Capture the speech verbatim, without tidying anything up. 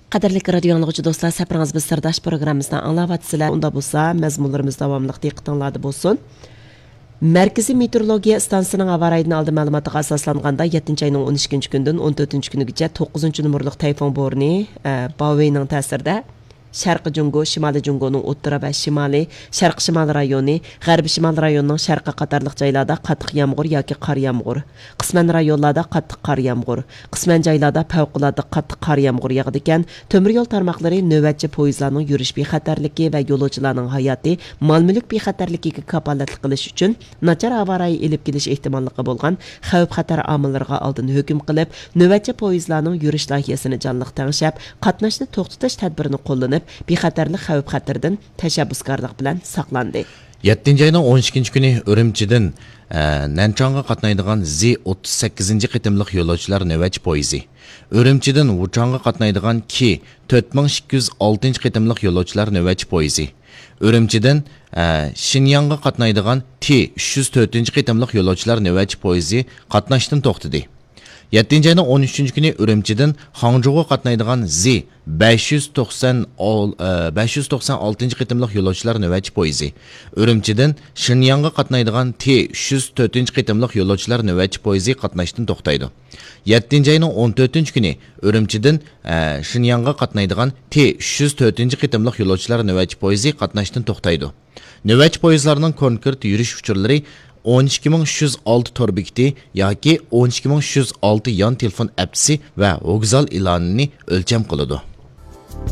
قەدىرلىك رادىيو ئاڭلىغۇچى دوستلار، سەپىرىڭىز بىز سىرداش پروگراممىسىنى ئاڭلاۋاتىسىلەر. ئۇنداق بولسا، مەزمۇنلىرىمىز داۋاملىق دىققىتىڭلاردا بولسۇن. مەركىزىي مېتېئورولوگىيە ئىستانسىسىنىڭ ھاۋا رايىدىن ئالدىن مەلۇماتىغا ئاساسلانغاندا، يەتتىنچى ئاينىڭ ئون ئىككىنچى كۈنىدىن ئون تۆتىنچى كۈنىگىچە توققۇزىنچى نومۇرلۇق تەيفۇڭ بورنى، ئە، باۋېينىڭ تەسىرىدە شەرقىي جۇڭگو، شىمالىي جۇڭگونىڭ ئوتتۇرا ۋە شىمالىي، شەرقىي شىمال رايونى، غەربىي شىمال رايونىنىڭ شەرقى قاتارلىق جايلاردا قاتتىق يامغۇر ياكى قار يامغۇر، قىسمەن رايونلاردا قاتتىق قار يامغۇر، قىسمەن جايلاردا پەۋقۇلئاددە قاتتىق قار يامغۇر ياغىدىكەن. تۆمۈر يول تارماقلىرى نۆۋەتچى پويىزلارنىڭ يۈرۈش بىخەتەرلىكى ۋە يولۇچىلارنىڭ ھاياتى، مال-مۈلۈك بىخەتەرلىكىگە كاپالەتلىك قىلىش ئۈچۈن، ناچار ھاۋا رايى ئېلىپ كېلىش ئېھتىماللىقى بولغان خەۋپ-خەتەر ئامىللىرىغا ئالدىن ھۆكۈم قىلىپ، نۆۋەتچى پويىزلارنىڭ يۈرۈش لايىھەسىنى جانلىق تەڭشەپ، قاتناشنى توختىتىش تەدبىرىنى قوللىنىپ، بىخەتەرلىك خەۋپ-خەتىرىدىن تەشەببۇسكارلىق بىلەن ساقلاندى. يەتتىنچى ئاينىڭ ئون ئىككىنچى كۈنى ئۈرۈمچىدىن، ئە، نەنچاڭغا قاتنايدىغان زى ئوتتۇز سەككىزىنچى قېتىملىق يولۇچىلار نۆۋەتچى پويىزى، ئۈرۈمچىدىن ۋۇچاڭغا قاتنايدىغان كى تۆت مىڭ ئىككى يۈز ئالتىنچى قېتىملىق يولۇچىلار نۆۋەتچى پويىزى، ئۈرۈمچىدىن، ئە، شىنياڭغا قاتنايدىغان تى ئۈچ يۈز تۆتىنچى قېتىملىق يولۇچىلار نۆۋەتچى پويىزى قاتناشتىن توختىدى. يەتتىنچى ئاينىڭ ئون ئۈچىنچى كۈنى ئۈرۈمچىدىن خاڭجۇغا قاتنايدىغان زى بەش يۈز توقسان، ئە، بەش يۈز توقسان ئالتىنچى قېتىملىق يولۇچىلار نۆۋەتچى پويىزى، ئۈرۈمچىدىن شىنياڭغا قاتنايدىغان تى ئۈچ يۈز تۆتىنچى قېتىملىق يولۇچىلار نۆۋەتچى پويىزى قاتناشتىن توختايدۇ. يەتتىنچى ئاينىڭ ئون تۆتىنچى كۈنى ئۈرۈمچىدىن، ئە، شىنياڭغا قاتنايدىغان تى ئۈچ يۈز تۆتىنچى قېتىملىق يولۇچىلار نۆۋەتچى پويىزى قاتناشتىن توختايدۇ. نۆۋەتچى پويىزلارنىڭ كونكرېت يۈرۈش ئۇچۇرلىرى ئون ئىككى مىڭ ئۈچ يۈز ئالتە تور بېكىتى ياكى ئون ئىككى مىڭ ئۈچ يۈز ئالتە يان تېلېفون ئەپچىسى ۋە ۋوگزال ئېلانىنى ئۆلچەم قىلىدۇ.